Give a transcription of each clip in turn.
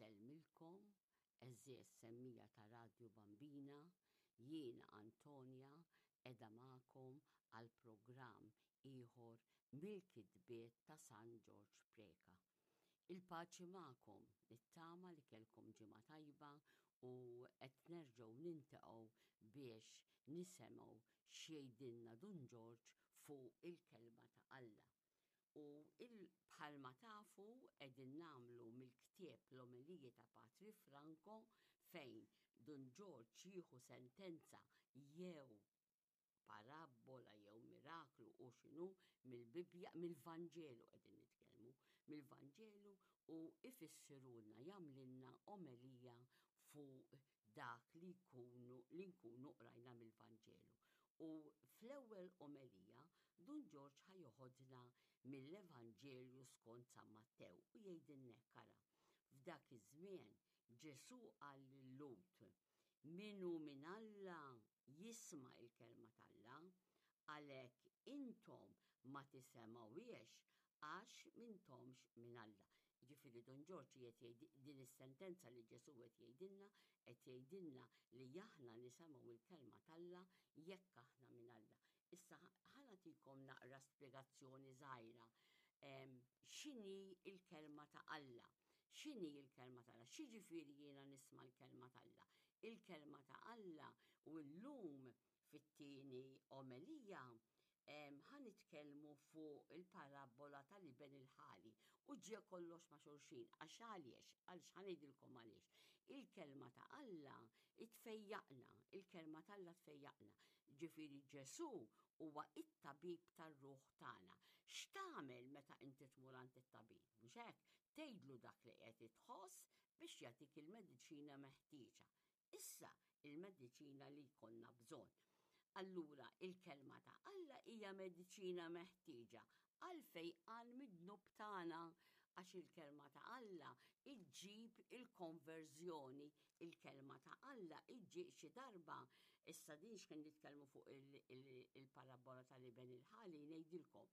Insellmilkom, għeżież semmija ta' Radju Bambina, jiena Antonia qiegħda magħkom għal programm ieħor mill-kitbiet ta' San Ġorġ Preca. Il-paċi magħkom, nittama li kellkom ġimgħa tajba u qed nerġgħu nintaqgħu biex nisemgħu x'jgħidilna Dun Ġorġ fuq il-kelma ta' Alla. U bħalma tafu qegħdin nagħmlu mill-ktieb l-Omeliji ta' Patri Franco fejn Dun Ġorġ jieħu sentenza jew parabbola jew miraklu u x'inhu mill-Bibbja, mill-Vanġelu qegħdin nitkellmu, mill-Vanġelu u ifissirulna jagħmlilna omelija fuq dak li jkunu li nkunu qrajna mill-Vanġelu. U fl-ewwel omelija Dun Ġorġ ħa joħodna mill-Evanġelju skont San Mattew u jgħidilna hekk ara. F'dak iż-żmien Ġesù qal lil-Lhud, Min hu minn Alla jisma' il-kelma t'Alla, għalhekk intom ma tisemgħuhiex għax m'intomx minn Alla. Jiġifieri Dun Ġorġ qiegħed jgħid din is-sentenza li Ġesù qed jgħidilna, qed jgħidilna li aħna nisemgħu l-kelma t'Alla jekk aħna minn Alla. Issa ħa nagħtikom naqra spjegazzjoni żgħira x'inhi l-kelma ta' Alla. X'inhi l-kelma ta' Alla? X'jiġifieri jiena nisma' l-kelma t'Alla? Il-kelma ta' Alla u llum fit-tieni omelija ħa nitkellmu fuq il-parabbola tal-iben il-ħali u ġie kollox ma' xulxin. Għax għaliex? Għaliex ħa ngħidilkom għaliex. Il-kelma ta' Alla tfejjaqna, il-kelma ta' Alla tfejjaqna. Ġifieri Ġesù huwa it-tabib tar-ruħ tagħna. X'tagħmel meta inti tmur għand it-tabib? Mhux hekk? Tgħidlu dak li qed tħoss biex jagħtik il-mediċina meħtieġa. Issa il-mediċina li jkollna bżonn. Allura il-kelma ta' Alla hija mediċina meħtieġa għal fejqan mid-dnub tagħna għax il-kelma ta' Alla iġġib il-konverżjoni, il-kelma ta' Alla iġġib xi darba. Issa din x'kien nitkellmu fuq il-parabola tal-iben il-ħali ngħidilkom.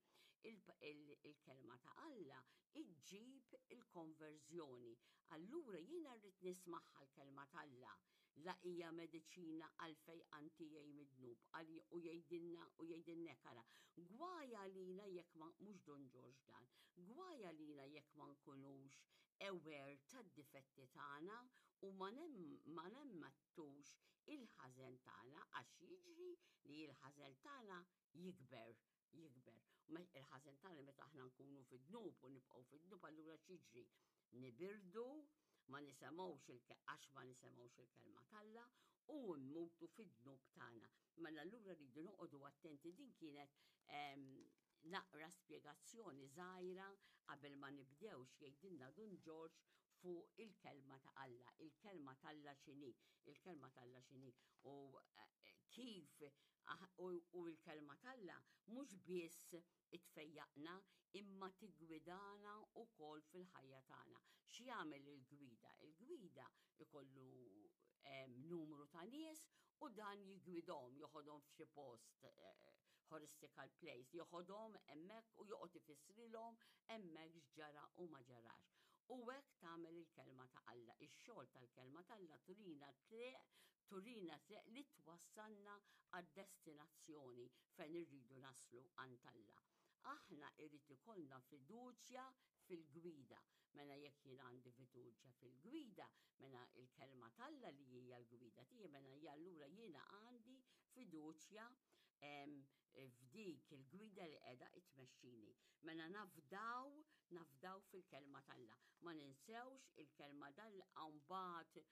Il-kelma ta' Alla iġġib il-konverżjoni. Allura jiena rrid nismagħha l-kelma t'Alla la hija mediċina għal fejqan tiegħi mid-dnub u jgħidilna u jgħidilna hekk ara. Gwaj għalina jekk ma mhux Dun Ġorġ dan, gwaj għalina jekk ma nkunux aware tad-difetti tagħna u ma nemmettux il-ħażen tagħna għax jiġri li l-ħażen tagħna jikber jikber. Il-ħażen tagħna meta aħna nkunu fid-dnub u nibqgħu fid-dnub allura x'jiġri? Nibirdu, ma nisemgħux għax ma nisemgħux il-kelma t'Alla u mmutu fid-dnub tagħna. Mela allura rridu noqogħdu attenti din kienet ehm, naqra spjegazzjoni żgħira qabel ma nibdew x'jgħidilna Dun Ġorġ fuq il-kelma ta' Alla, il-kelma t'Alla x'inhi, il-kelma t'Alla x'inhi u eh, kif U l-kelma t'Alla mhux biss itfejjaqna imma tiggwidana wkoll fil-ħajja tagħna. X'jagħmel il-gwida? Il-gwida ikollu numru ta' nies u dan jiggwidhom, joħodhom f'xi post eh, horistical place, joħodhom hemmhekk u joqgħod ifissrilhom hemmhekk x'ġara u ma ġarax. U hekk tagħmel il-kelma ta' Alla. Ix-xogħol tal-kelma t'Alla turina triq, turina triq li twassalna għad-destinazzjoni fejn irridu naslu għand Alla. Aħna irrid ikollna fiduċja fil-gwida. Mela jekk jien għandi fiduċja fil-gwida, mela il-kelma t'Alla li hija l-gwida tiegħi, mela allura jiena għandi fiduċja f'dik il-gwida li qiegħda tmexxini. Mela nafdaw, nafdaw fil-kelma t'Alla. Ma ninsewx il-kelma t'Alla mbagħad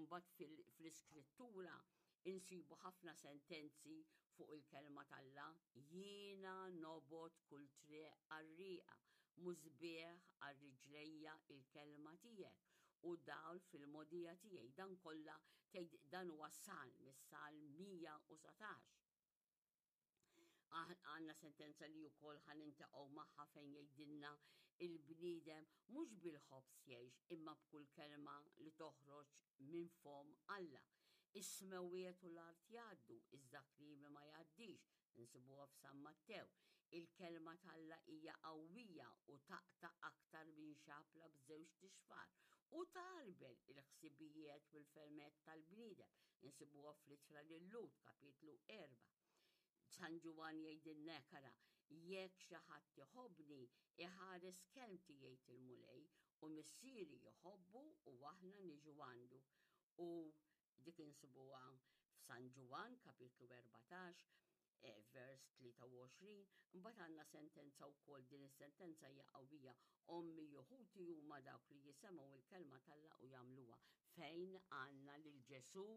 mbagħad fl-iskrittura insibu ħafna sentenzi fuq il-kelma t'Alla. Jiena nobgħod kull triq qarrieqa, musbieħ għal riġlejja il-kelma tiegħek u dawl fil-mogħdija tiegħi. Dan kollha tgħid dan huwa salm, is-salm 119. Għanna sentenza li wkoll ħa nintaqgħu magħha fejn jgħidilna il-bniedem mhux bil-ħobż jgħix imma b'kull kelma li toħroġ minn fom Alla. Is-smewwiet u l-art jgħaddu, iżda kliemi ma jgħaddix, insibuha f'San Mattew. Il-kelma t'Alla hija qawwija u taqta' aktar minn xabla b'żewġt ixfar u tgħarbel il-ħsibijiet u l-fehmiet tal-bniedem. Insibuha fl-Ittra lil-Lhud, kapitlu 4. San Ġwann jgħidilna hekk, ara, jekk xi ħadd iħobbni, iħares kelmti jgħid il-Mulej, u Missieri jħobbu u aħna niġu għandu. U dik insibuha f'San Ġwann, kapitlu 14, eh, vers 23, mbagħad għandna sentenza wkoll din is-sentenza hija qawwija, ommi u ħuti huma dawk li jisemgħu l-kelma t'Alla u jagħmluha. Fejn għandna lil Ġesù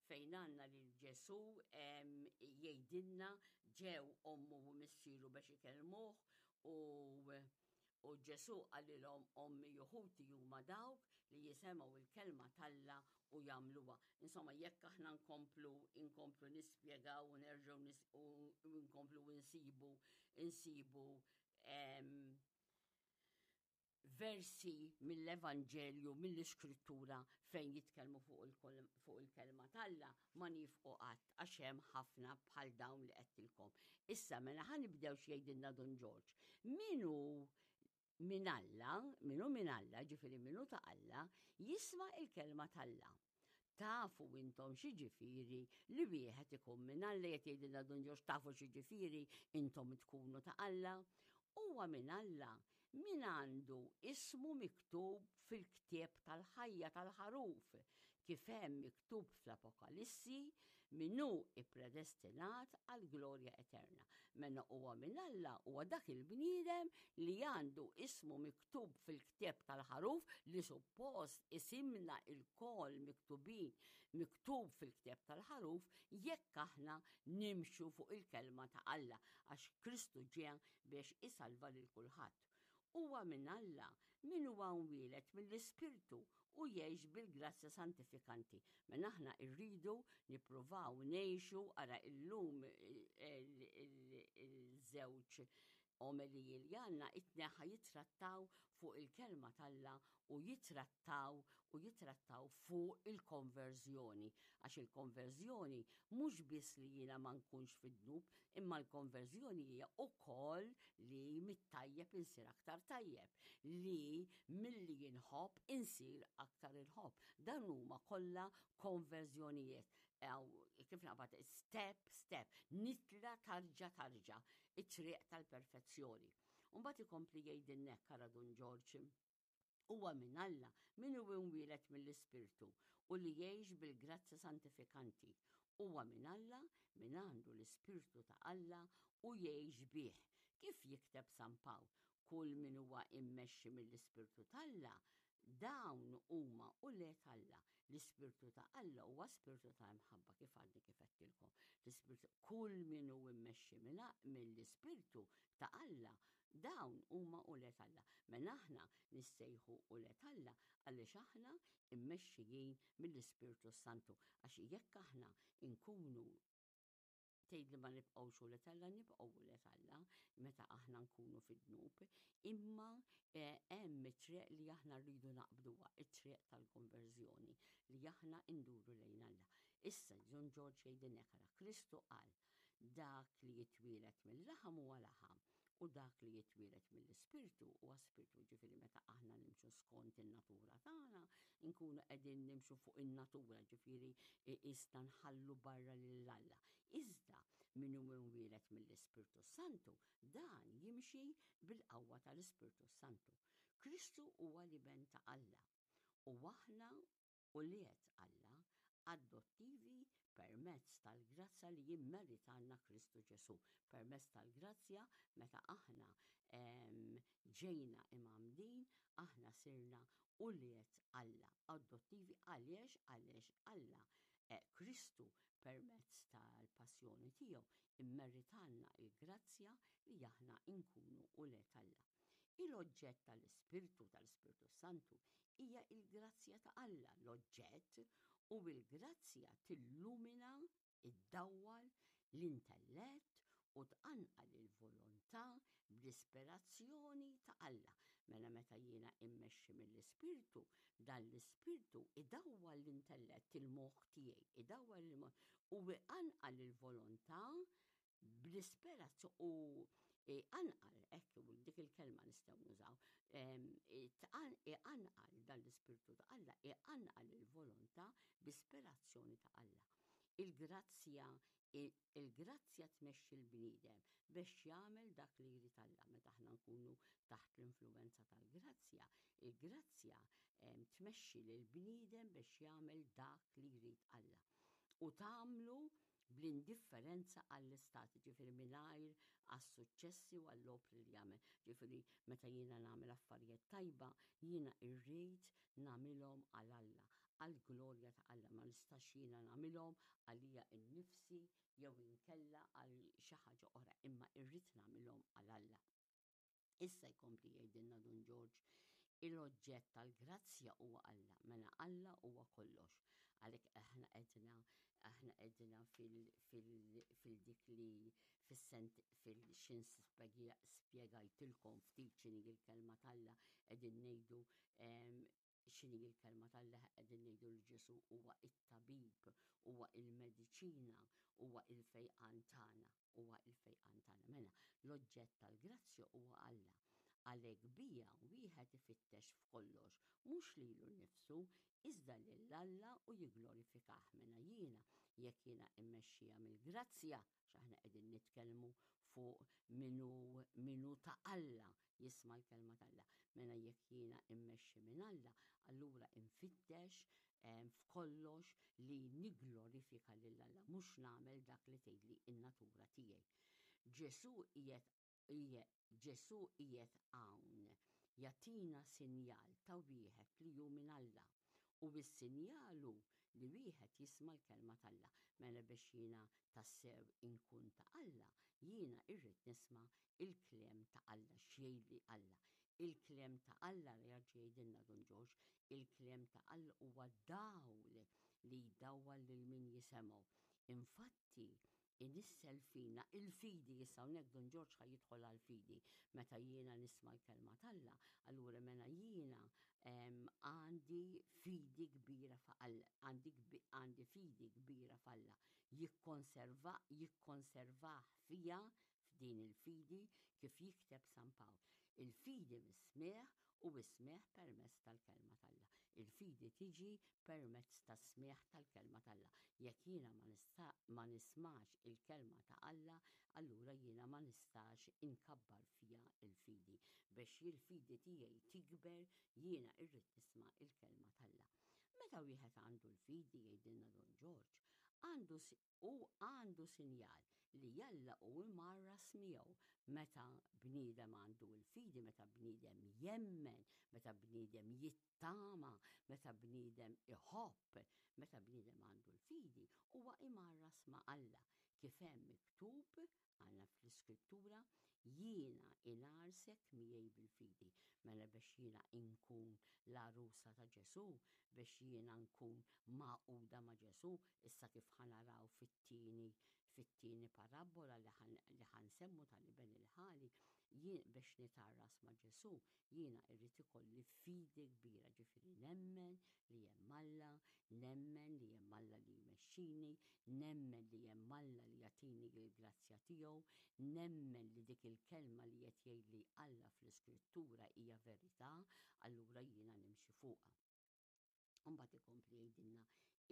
fejn għandna lil Ġesù jgħidilna ġew ommu u missieru biex ikellmuh u u Ġesù qalilhom ommi u ħuti huma dawk li jisemgħu l-kelma t'Alla u jagħmluha. Insomma, jekk aħna nkomplu inkomplu nispjegaw u nerġgħu u nkomplu insibu insibu versi mill-Evanġelju, mill-Iskrittura fejn jitkellmu fuq il-kelma t'Alla ma nifqu qatt għax hemm ħafna bħal dawn li qedtilkom. Issa mela ħa nibdew x'jgħidilna Dun Ġorġ. Min hu minn Alla, min hu minn Alla, ġifieri min hu ta' Alla, jisma' il-kelma t'Alla. Tafu intom x'jiġifieri li wieħed ikun minn Alla, qed jgħidilna Dun Ġorġ, tafu x'jiġifieri intom tkunu ta' Alla? Huwa minn Alla min għandu ismu miktub fil-ktieb tal-ħajja tal-ħaruf, kif hemm miktub fl-Apokalissi, min hu ppredestinat għall-glorja eterna. Mela huwa minn Alla huwa dak il-bniedem li għandu ismu miktub fil-ktieb tal-ħaruf li suppost isimna ilkoll miktubin miktub fil-ktieb tal-ħaruf jekk aħna nimxu fuq il-kelma ta' Alla għax Kristu ġie biex isalva lil kulħadd. Huwa minn Alla min huwa mwieled mill-Ispirtu u jgħix bil-grazzja santifikanti. Mela aħna rridu nippruvaw ngħixu ara illum il-żewġ omeliji li għandna it-tneħħa jittrattaw fuq il-kelma t'Alla u jitrattaw u jitrattaw fuq il-konverżjoni. Għax il-konverżjoni mhux biss li jiena ma nkunx fid-dnub, imma l-konverżjoni hija wkoll li mit-tajjeb insir aktar tajjeb, li milli inħobb insir aktar inħobb. Dan huma kollha konverżjonijiet. Kif naqbad step step, nitla tarġa tarġa, it-triq tal-perfezzjoni. Mbagħad ikompli jgħidilna hekk ara Dun Ġorġ. Huwa minn Alla min hu imwieled mill-Ispirtu u li jgħix bil-grazzja santifikanti. Huwa minn Alla min għandu l-Ispirtu ta' Alla u jgħix bih. Kif jikteb San Pawl, kull min huwa immexxi mill-Ispirtu t'Alla, dawn huma ulied Alla. L-Ispirtu ta' Alla huwa spirtu ta' imħabba kif għadni kif għedtilkom. L-Ispirtu kull min hu immexxi mill-Ispirtu ta' Alla, dawn huma ulied Alla. Mela aħna nissejħu ulied Alla għaliex aħna immexxijin mill-Ispirtu Santu. Għax jekk aħna nkunu tgħid li ma nibqgħux ulied Alla, nibqgħu ulied Alla meta aħna nkunu fid-dnub, imma eh, hemm it-triq li aħna rridu naqbduha, it-triq tal-konverżjoni li aħna nduru lejn Alla. Issa John George jgħidilna ara Kristu qal dak li jitwielet mill-laħam huwa laħam u dak li jitwielet mill-ispirtu huwa spirtu, ġifieri meta aħna nimxu skont in-natura tagħna, nkunu qegħdin nimxu fuq in-natura, ġifieri issa nħallu barra lil Alla. Iżda min hu imwieled mill-Ispirtu Santu, dan jimxi bil-qawwa tal-Ispirtu Santu. Kristu huwa l-Iben ta' Alla u aħna ulied Alla adottivi permezz tal-grazzja li jimmeritalna Kristu Ġesù. Permezz tal-grazzja meta aħna ġejna imgħammdin, aħna sirna ulied Alla adottivi għaliex għaliex Alla eh, Kristu permezz tal-passjoni tiegħu immeritalna il-grazzja li aħna nkunu ulied Alla. Il-oġġett tal-Ispirtu tal-Ispirtu Santu hija il-grazzja ta' Alla, l-oġġett u l-grazzja tillumina, iddawwal l-intellett u tqanqal il-volontà bl-ispirazzjoni ta' Alla. Mela meta jiena immexxi mill-Ispirtu, dan l-Ispirtu idawwal l-intellett, il-moħħ tiegħi, idawwal il-moħħ u iqanqal il-volontà bl-ispirazzjoni u. Iqanqal, hekk dik il-kelma nistgħu nużaw, iqanqal dan l-Ispirtu ta' Alla, iqanqal il-volontà b'ispirazzjoni ta' Alla. Il-grazzja il-grazzja tmexxi l-bniedem biex jagħmel dak li jrid Alla. Meta aħna nkunu taħt l-influwenza tal-grazzja, il-grazzja tmexxi lill-bniedem biex jagħmel dak li jrid Alla. U tagħmlu bl-indifferenza għall-istat, ġifieri mingħajr għas-suċċessi u għall-opri li jagħmel. Ġifieri meta jiena nagħmel affarijiet tajba, jiena rrid nagħmilhom għal Alla, għall-glorja ta' Alla, ma nistax jiena nagħmilhom għalija nnifsi jew inkella għal xi ħaġa oħra, imma rrid nagħmilhom għal Alla. Issa jkompli jgħidilna Dun Ġorġ, il-oġġett tal-grazzja huwa Alla, mela Alla huwa kollox. Għalhekk aħna qedna aħna qedna fil-dik li fis-sent fil-xin spjegajtilkom ftit x'inhi l-kelma t'Alla qegħdin ngħidu x'inhi l-kelma t'Alla qegħdin ngħidu li Ġesù huwa it-tabib, huwa il-mediċina, huwa il-fejqan tagħna, huwa il-fejqan tagħna. Mela, l-oġġett tal-grazzja huwa Alla. Għalhekk bija wieħed ifittex f'kollox, mhux lilu nnifsu, iżda lil Alla u jigglorifikah. Mela jiena, jekk jiena immexxija mill-grazzja, x'aħna qegħdin nitkellmu fuq min hu min hu ta' Alla, jisma' l-kelma t'Alla. Mela jekk jiena immexxi minn Alla, allura infittex f'kollox li nigglorifika lil Alla, mhux nagħmel dak li tgħidli n-natura tiegħi. Ġesù qiegħed Ġesù qiegħed hawn jagħtina sinjal ta' wieħed li hu minn Alla. U s-sinjal hu li wieħed jisma' l-kelma t'Alla. Mela biex jiena tassew inkun ta' Alla, jiena irrid nisma' il-kliem ta' Alla, x'jgħidli Alla. Il-kliem ta' Alla, jerġa' jgħidilna Dun Ġorġ, il-kliem ta' Alla huwa dawl li jdawwal lil min jisemgħu. Infatti, inissel fina il-fidi, issa hawnhekk Dun Ġorġ ħa jidħol għall-fidi, meta jiena nisma' l-kelma t'Alla, allura mela jiena għandi fidi kbira f'Alla, għandi għandi fidi kbira f'Alla, jikkonserva jikkonservah fija f'din il-fidi kif jikteb San Pawl. Il-fidi mis-smigħ u s-smigħ permezz tal-kelma t'Alla. Il-fidi tiġi permezz tas-smigħ tal-kelma t'Alla. Jekk jiena ma nista' ma nismax il-kelma ta' Alla, allura jiena ma nistax inkabbar fija l-fidi. Biex il-fidi tiegħi tikber, jiena irrid nisma' il-kelma t'Alla. Meta wieħed għandu l-fidi, jgħidilna Dun Ġorġ, għandu Hu għandu sinjal li Alla hu mgħarras miegħu. Meta bniedem għandu l-fidi, meta bniedem jemmen, meta bniedem jittama, meta bniedem iħobb, meta bniedem għandu l-fidi, huwa imgħarras ma' Alla, kif hemm miktub Għandna fl-Iskrittura, Jiena ingħarsek miegħi bil-fidi. Mela biex jiena inkun l-għarusa ta' Ġesù, biex jiena nkun magħquda ma' Ġesù, issa kif ħa naraw fit-tieni fit-tieni parabbola li ħa nsemmu tal-iben il-ħali, jien biex nitgħarras ma' Ġesù, jiena irrid ikolli fidi kbira, ġifieri nemmen li hemm Alla, nemmen li hemm Alla li jmexxini, nemmen li hemm Alla li jagħtini l-grazzja tiegħu, nemmen li dik il-kelma li qed jgħidli Alla fl-Iskrittura hija verità, allura jiena nimxi fuqha. Imbagħad ikompli jgħidilna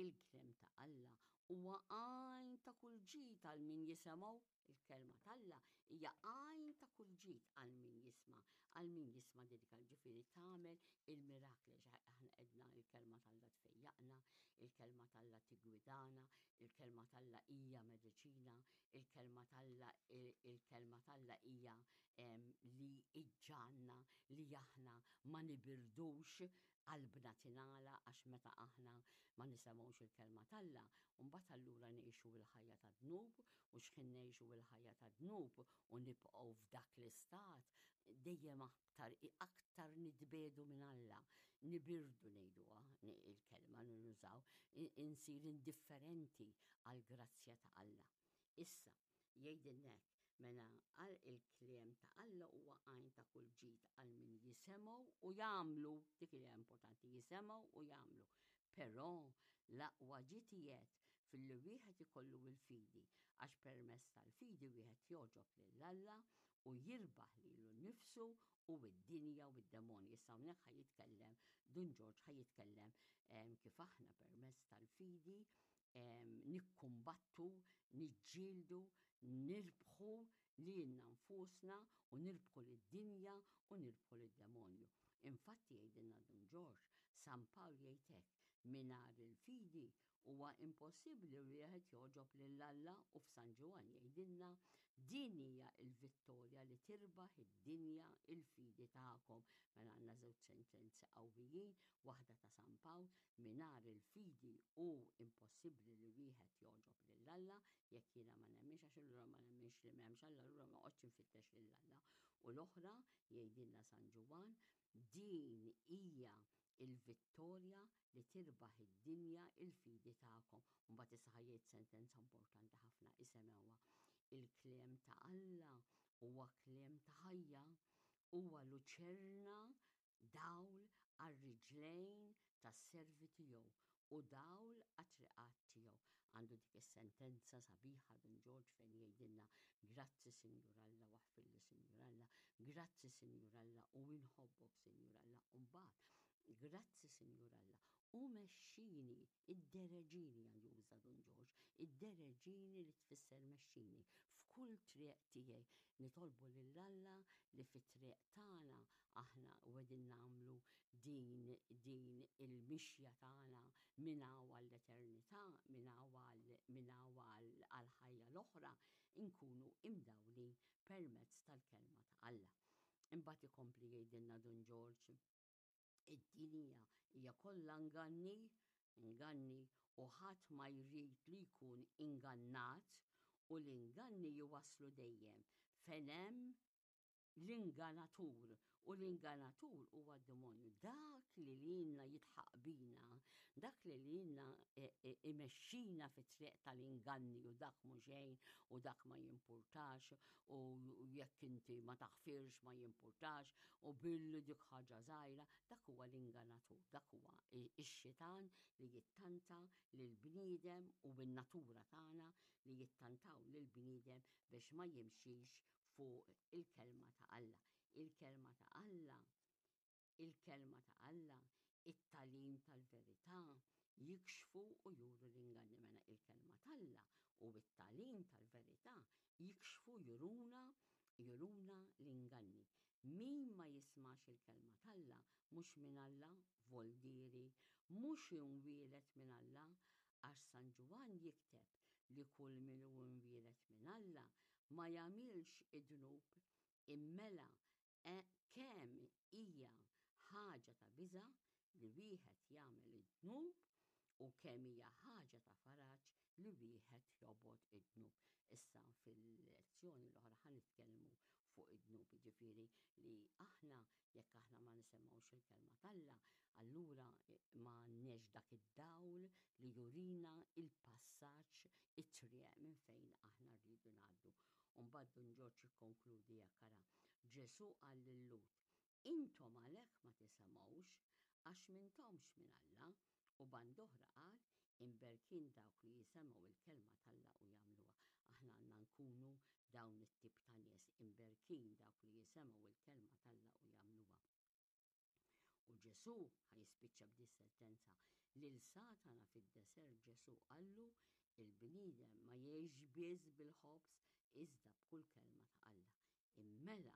il-kliem ta' Alla huwa għajn ta' kull ġid għal min jisemgħu. Il-kelma t'Alla hija għajn ta' kull ġid għal min jisma', għal min jisma' din il-kelma, ġifieri tagħmel il-mirakli għax aħna għedna il-kelma t'Alla tfejjaqna, il-kelma t'Alla tiggwidana, il-kelma t'Alla hija mediċina, il-kelma t'Alla il-kelma t'Alla hija li iġġagħalna li aħna ma nibirdux Qalbna tingħalaq għax meta aħna ma nisemgħux il-Kelma t'Alla, mbagħad allura ngħixu l-ħajja tad-dnub u x'ħin ngħixu l-ħajja tad-dnub u nibqgħu f'dak l-istat, dejjem aktar aktar nitbiegħdu minn Alla, nibirdu ngħiduha il-kelma li nużaw, insir indifferenti għall-grazzja ta' Alla. Issa, jgħidilna hekk, Mela għal il-kliem ta' Alla huwa għajn ta' kull ġid għal min jisemgħu u jagħmlu, dik li importanti, jisemgħu u jagħmlu. Però l-aqwa ġid qiegħed filli wieħed ikollu l-fidi, għax permezz tal-fidi wieħed jogħġob lil Alla. U jirbaħ lilu nnifsu u d-dinja u d-demonji. Issa hawnhekk ħa jitkellem, Dun Ġorġ ħa jitkellem kif aħna permezz tal-fidi nikkumbattu, niġġieldu, nirbħu lilna nfusna u nirbħu lid-dinja u nirbħu lid-demonju. Infatti jgħidilna Dun Ġorġ, San Pawl jgħid hekk, mingħajr il-fidi Huwa impossibbli wieħed jogħġob lil Alla u f'San Ġwann jgħidilna, Din hija l-vittorja li tirbaħ id-dinja, il-fidi tagħkom. Mela għandna żewġ sentenzi qawwijin, waħda ta' San Pawl, mingħajr il-fidi hu impossibbli li wieħed jogħġob lil Alla, jekk jiena ma nemminx għax allura ma nemminx li m'hemmx Alla allura ma noqgħodx infittex lil Alla. U l-oħra, jgħidilna San Ġwann, din hija il-vittorja li tirbaħ id-dinja il-fidi tagħkom. U mbagħad issa ħa jgħid sentenza importanti ħafna, isemgħuha. Il-kliem ta' Alla huwa kliem ta' ħajja, huwa luċerna, dawl għar-riġlejn tas-servi tiegħu u dawl għat-triqat tiegħu. Għandu dik is-sentenza sabiħa Dun Ġorġ fejn jgħidilna, Grazzi Sinjur Alla u aħfirli Sinjur Alla, grazzi Sinjur Alla u inħobbok Sinjur Alla. U mbagħad, grazzi Sinjur Alla u mexxini, iddereġini għandu juża Dun Ġorġ, iddereġini li tfisser mexxini f'kull triq tiegħi. Nitolbu lil Alla li fit-triq tagħna aħna u qegħdin nagħmlu din din il-mixja tagħna minn hawn għall-eternità, minn hawn għal minn hawn għall-ħajja l-oħra, inkunu imdawlin permezz tal-Kelma ta' Alla. Imbagħad ikompli jgħidilna Dun Ġorġ, Id-dinja hija kollha nganni, nganni u ħadd ma jrid li jkun ingannat u l-inganni jwasslu dejjem fejn hemm l-inganatur, u l-inganatur huwa d-demonju, dak li lilna jidħaq bina, dak li lilna e, e, imexxina fit-triq tal-inganni u dak mhu xejn u dak ma jimpurtax u jekk inti ma taħfirx ma jimpurtax u billi dik ħaġa żgħira, dak huwa l-inganatur, dak huwa x-xitan li jittanta lill-bniedem u bin-natura tagħna li jittantaw lill-bniedem biex ma jimxix fuq il-Kelma ta' Alla. Il-Kelma ta' Alla, il-Kelma ta' Alla, it-tagħlim tal-verità, jikxfu u juru l-inganni. Mela il-Kelma t'Alla u t-tagħlim tal-verità jikxfu juruna juruna l-inganni. Min ma jismax il-Kelma t'Alla mhux minn Alla, voldieri, mhux imwieled minn Alla, għax San Ġwann jikteb li kull min hu imwieled minn Alla ma jagħmilx id-dnub, immela kemm hija ħaġa ta' biża' li wieħed jagħmel id-dnub u kemm hija ħaġa ta' faraġ li wieħed jobgħod id-dnub. Issa fil-lezzjoni l-oħra ħa nitkellmu fuq id-dnub, jiġifieri li aħna jekk aħna ma nisimgħux il-kelma t'Alla, allura ma għandniex dak id-dawl li jurina il-passaġġ, it-triq minn fejn aħna rridu ngħaddu. U mbagħad Dun Ġorġ jikkonkludi hekk, ara, Ġesù qal lil-Lhud, Intom għalhekk ma tisemgħux, għax m'intomx minn Alla. U band'oħra qal, Imberkin dawk li jisemgħu l-kelma t'Alla u jagħmluha. Aħna għandna nkunu dawn it-tip ta' nies, imberkin dawk li jisemgħu l-kelma t'Alla u jagħmluha. U Ġesù ħa jispiċċa b'dis-sentenza, Lil Satana fid-desert Ġesù qallu, Il-bniedem ma jgħixx biss bil-ħobż, iżda b'kull kelma ta' Alla. Immela,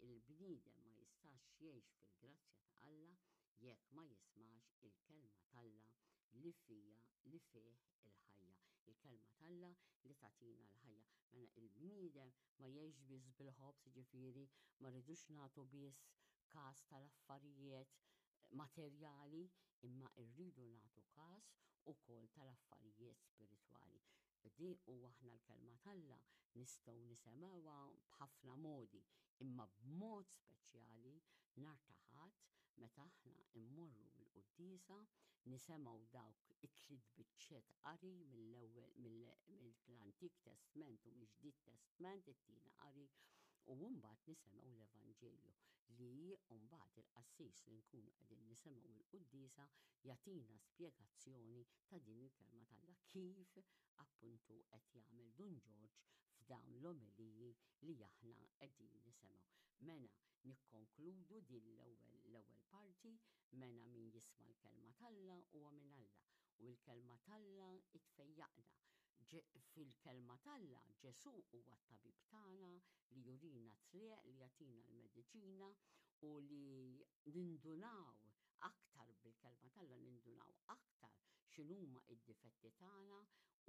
il-bniedem ma jistax jgħix fil-grazzja ta' Alla jekk ma jismax il-Kelma t'Alla li fiha li fih il-ħajja. Il-Kelma t'Alla li tagħtina l-ħajja. Mela il-bniedem ma jgħixx biss bil-ħobż, jiġifieri ma rridux nagħtu biss każ tal-affarijiet materjali, imma rridu nagħtu każ ukoll tal-affarijiet spiritwali. Di u aħna l-Kelma t'Alla nistgħu nisemgħuha b'ħafna modi, imma b'mod speċjali nhar ta' Ħadd meta aħna mmorru l-quddiesa nisemgħu dawk it-tliet biċċiet qari mill-ewwel mill-Antik Testment u mill-Ġdid Testment, it-tieni qari, u mbagħad nisemgħu l-Evanġelju li mbagħad il-qassis li nkunu qegħdin nisemgħu l-quddiesa jagħtina spjegazzjoni ta' din il-Kelma t'Alla kif appuntu qed jagħmel Dun Ġorġ f'dan. f'dawn l-omeliji li aħna qegħdin nisemgħu. Mela nikkonkludu din l-ewwel l-ewwel parti, mela min jisma' l-kelma t'Alla huwa minn Alla u l-kelma t'Alla tfejjaqna. Fil-kelma t'Alla Ġesù huwa t-tabib tagħna li jurina t-triq, li jagħtina l-mediċina u li nindunaw aktar bil-kelma t'Alla nindunaw aktar x'inhuma d-difetti tagħna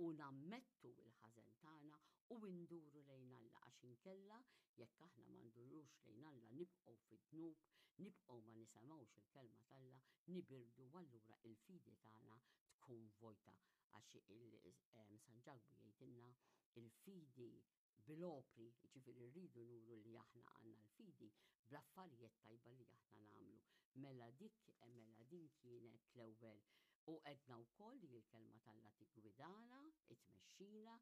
u nammettu l-ħażen tagħna u nduru lejn Alla għax inkella jekk aħna ma ndurux lejn Alla nibqgħu fid-dnub, nibqgħu ma nisemgħux il-kelma t'Alla, nibirdu u allura il-fidi tagħna tkun vojta għax San Ġakbu jgħidilna il-fidi bil-opri, jiġifieri rridu nuru li aħna għandna l-fidi bl-affarijiet tajba li aħna nagħmlu. Mela dik, mela din kienet l-ewwel u għedna wkoll li l-kelma t'Alla tiggwidana, tmexxina,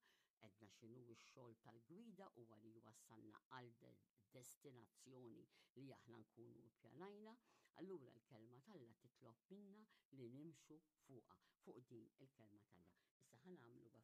għedna x'inhu x-xogħol tal-gwida huwa li jwassalna għal destinazzjoni li aħna nkunu ppjanajna, allura l-kelma t'Alla titlob minna li nimxu fuqha, fuq din il-kelma t'Alla. Issa ħa nagħmlu.